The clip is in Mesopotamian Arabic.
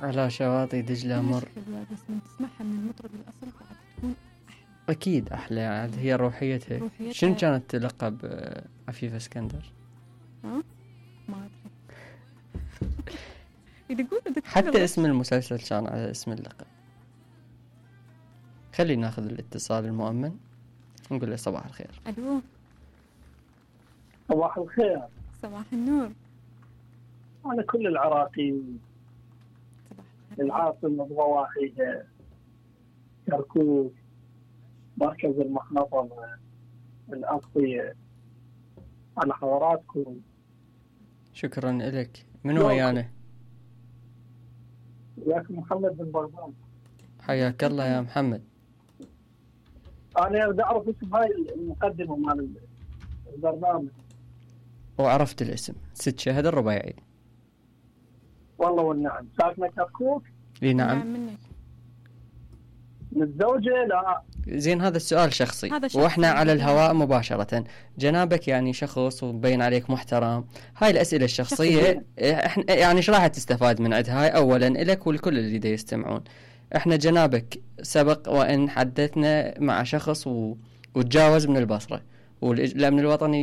على شواطئ دجلة مر. حلوة بس من تسمعها من المطرب الأصل بعد تكون أكيد أحلى، عاد هي روحيتها. شنو كانت تلقب عفيفة اسكندر؟ ما أدري. حتى اسم المسلسل كان على اسم اللقب. خلينا ناخذ الاتصال المؤمن نقول له صباح الخير. ألو. صباح الخير. صباح النور. أنا كل العراقيين العاصمة بضواحيها كركوك مركز المخنطة الأغطية على حضراتكم. شكرا لك. منو ويانا؟ وياكم محمد بن بغداد. حياك الله يا محمد. أنا بدي أعرف اسم هاي المقدمة مال البرنامج. وعرفت الاسم، ست شهد الربيعي. والله والنعم. ساكنة كركوك؟ اي نعم. متزوجة؟ لا. زين هذا السؤال شخصي واحنا على الهواء مباشرة. جنابك يعني شخص ومبين عليك محترم، هاي الأسئلة الشخصية احنا يعني ايش راح تستفاد من عندها؟ هاي اولا لك والكل اللي دا يستمعون. احنا جنابك سبق وان حدثنا مع شخص وتجاوز من البصرة والأمن الوطني